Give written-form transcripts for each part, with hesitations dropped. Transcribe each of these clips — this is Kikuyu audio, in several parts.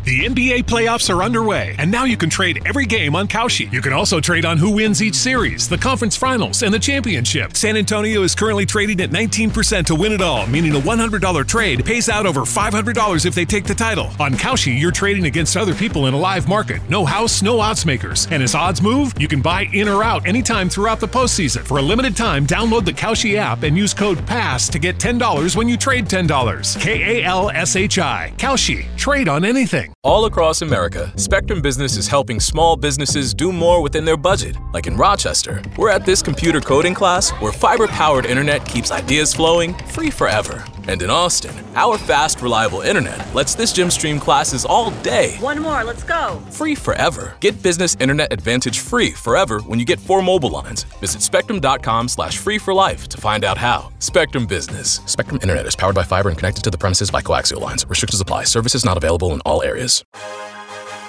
The NBA playoffs are underway, and now you can trade every game on Kalshi. You can also trade on who wins each series, the conference finals, and the championship. San Antonio is currently trading at 19% to win it all, meaning a $100 trade pays out over $500 if they take the title. On Kalshi, you're trading against other people in a live market. No house, no odds makers. And as odds move, you can buy in or out anytime throughout the postseason. For a limited time, download the Kalshi app and use code PASS to get $10 when you trade $10. K-A-L-S-H-I. Kalshi. Trade on anything. All across America, Spectrum Business is helping small businesses do more within their budget. Like in Rochester, we're at this computer coding class where fiber-powered internet keeps ideas flowing free forever. And in Austin, our fast, reliable internet lets this gym stream classes all day. One more, let's go. Free forever. Get business internet advantage free forever when you get 4 mobile lines. Visit spectrum.com/free for life to find out how. Spectrum Business. Spectrum Internet is powered by fiber and connected to the premises by coaxial lines. Restrictions apply. Services not available in all areas.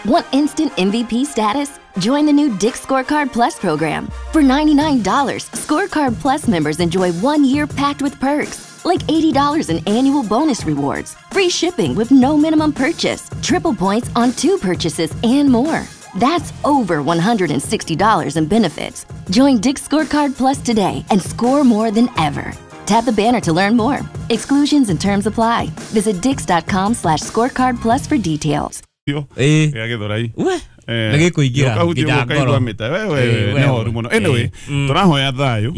Want instant MVP status? Join the new Dick's Scorecard Plus program. For $99, Scorecard Plus members enjoy 1 year packed with perks, like $80 in annual bonus rewards, free shipping with no minimum purchase, triple points on 2 purchases, and more. That's over $160 in benefits. Join Dick's Scorecard Plus today and score more than ever. Tap the banner to learn more. Exclusions and terms apply. Visit dicks.com/scorecard plus for details. Ya Githurai. Nĩgĩkũingĩra nginya ngoro. Nĩ horu mũno. Anyway, tũrahoya thayũ.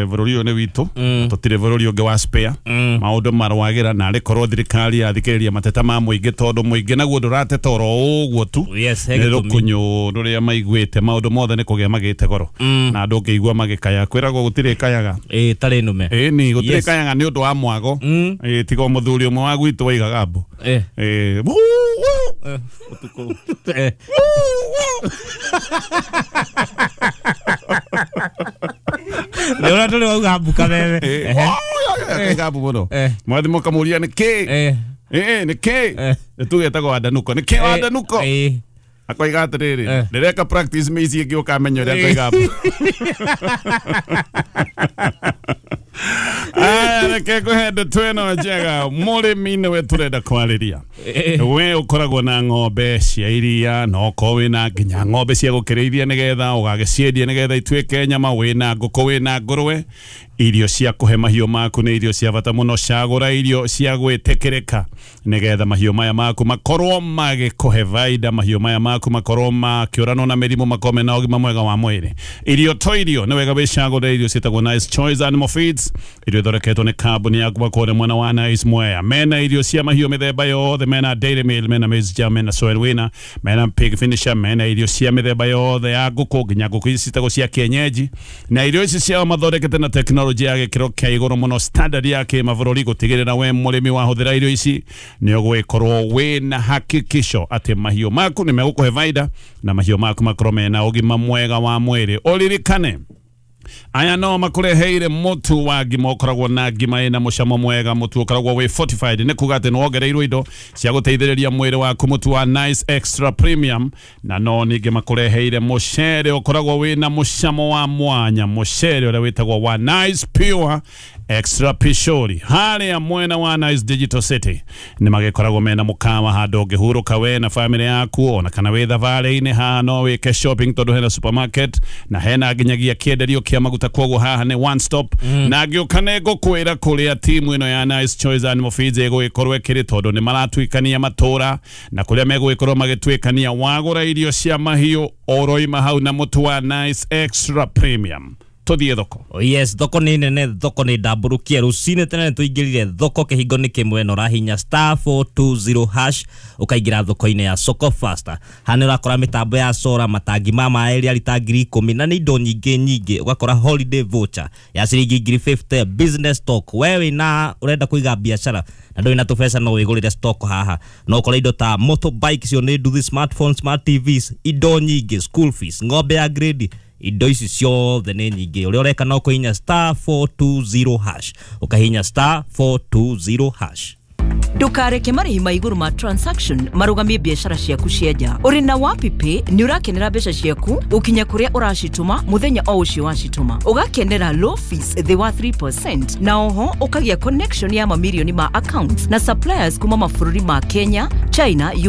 Bũrũri ũyũ nĩ witũ, tũtirĩ bũrũri ũngĩ wa spare. Maũndũ marwagĩra na arĩ korwo thirikari yathikĩrĩria mateta ma mũingĩ tondũ mũingĩ naguo ndũrateta oro ũguo tu. Nĩ rũkũnyũ rũrĩa maiguĩte maũndũ mothe nĩ kũgĩa magĩte goro. Na andũ ũngĩigua magĩkaya kwĩragwo gũtirĩ kayaga. Tarĩ nũme. Ĩni gũtirĩ kayaga nĩ ũndũ wa mwago. Tiga mũthuri ũmwe wa gwitũ waigaga mbu. Ũtukũ. Nĩ ũrĩa tũrĩ wauga mbu kameme. Akaiga mbu mũno. Mwathi mũkamũria nĩ kĩ? Nĩ kĩ? Tũgetagwo Wandanuko. Nĩ kĩ Wandanuko? Akoiga atĩrĩrĩ, ndĩreka practice mĩici ĩngĩ ũkamenya ũrĩa ngoiga mbu. Aya, reke ngũhe ndeto ĩno njega. Mũrĩmi nĩwe tũrenda kwarĩria. We ũkoragwo na ng'ombe cia iria na okorwo wĩna nginya ng'ombe cia gũkĩrĩithia nĩgetha ũgagĩciendia nĩgetha ituĩke nyama, wĩna ngũkũ, wĩna ngũrwe. Irio cia kũhe mahiũ maku nĩ irio cia bata mũno. Cagũra irio cia gwĩtĩkĩrĩka nĩgetha mahiũ maya maku makorwo magĩkũhe baida, mahiũ maya maku makorwo makĩũranwo na mĩrimũ, makorwo mena ũgima mwega wa mwĩrĩ. Irio to irio, nĩ wega wĩcagũre irio ciĩtagwo Nice Choice Animal Feeds, irio ithondeketwo nĩ kambuni ya kuma kũrĩa mwena wa Nice Mwea. Mena irio cia mahiũ mĩthemba yothe, mena Dairy Meal, mena Maize Jam, mena Soil Winner, mena Pig Finisher, mena irio cia mĩthemba yothe ya ngũkũ, nginya ngũkũ ici ciĩtagwo cia kienyeji. Na irio ici ciao mathondekete na tekinoronjĩ ya gĩkĩro kĩa igũrũ mũno, standard ya kĩmabũrũri, gũtigĩrĩra we mũrĩmi wahũthĩra irio ici nĩ ũgũgĩkorwo wĩna hakikisho atĩ mahiũ maku nĩ megũkũhe baida na mahiũ maku makorwo mena ũgima mwega wa mwĩrĩ. Ũririkane aya no makũreheire mũtu wa ngima ũkoragwo na ngima ĩna mũcamo mwega, mũtu ũkoragwo wĩ fortified, nĩ kuga atĩ nĩ wongereirwo indo cia gũteithĩrĩria mwĩrĩ waku, mũtu wa Nice Extra Premium. Na no ningĩ makũreheire mũcere ũkoragwo wĩna mũcamo wa mwanya, mũcere ũrĩa wĩtagwo wa Nice Pure Extra Pishori. Harĩa mwena wa Nice Digital City nĩ magĩkoragwo mena mũkawa handũ ũngĩhurũka we na family yaku, ona kana wĩ thabarĩ-inĩ haha no wĩke shopping tondũ hena supermarket na hena nginyagia kĩenderio kĩa maguta, koguo haha nĩ one stop. Na ngĩũka nĩ ngũkwĩra kũrĩa timu ĩno ya Nice Choice Animal Feeds ĩgũgĩkorwo ĩkĩrĩ, tondũ nĩ maratuĩkania matũra na kũrĩa megũgĩkorwo magĩtuĩkania. Wagũra irio cia mahiũ oroima hau na mũtu wa Nice Extra Premium. Tũthiĩ thoko. Yes, thoko nĩ nene, thoko nĩ ndambũrũkie. Rũcinĩ tene tũingĩrire thoko kĩhingo nĩ kĩmwe na ũrahinya *420# ũkaingĩra thoko-inĩ ya Soko Faster. Haha nĩ ũrakora mĩtambo ya sora, matangi ma maĩ rĩa rita 10,000 na nĩ indo nyingĩ nyingĩ. Ũgakora holiday voucher ya ciringi 50,000, business stock. We wĩna ũrenda kũiga biacara na ndũrĩ na tũbeca no wĩgũrĩre stock haha. No ũkore indo ta motorbike cio nĩ nduthi, smartphone, smart TVs, indo nyingĩ, school fees, ng'ombe ya grade, indo ici ciothe nĩ nyingĩ. Ũrĩa ũreka no kũhinya *420#, ũkahinya *420#. Ndukareke marĩhi ma igũrũ ma transaction marũgamie biacara ciaku cia nja. Ũrĩ na WapiPay nĩ ũrakenera mbeca ciaku gũkinya kũrĩa ũracitũma mũthenya o ũcio wacitũma. Ũgakenera low fees thĩ wa 3% na oho ũkagĩa connection ya mamirioni ma accounts na suppliers kuma mabũrũri ma Kenya, China, Uganda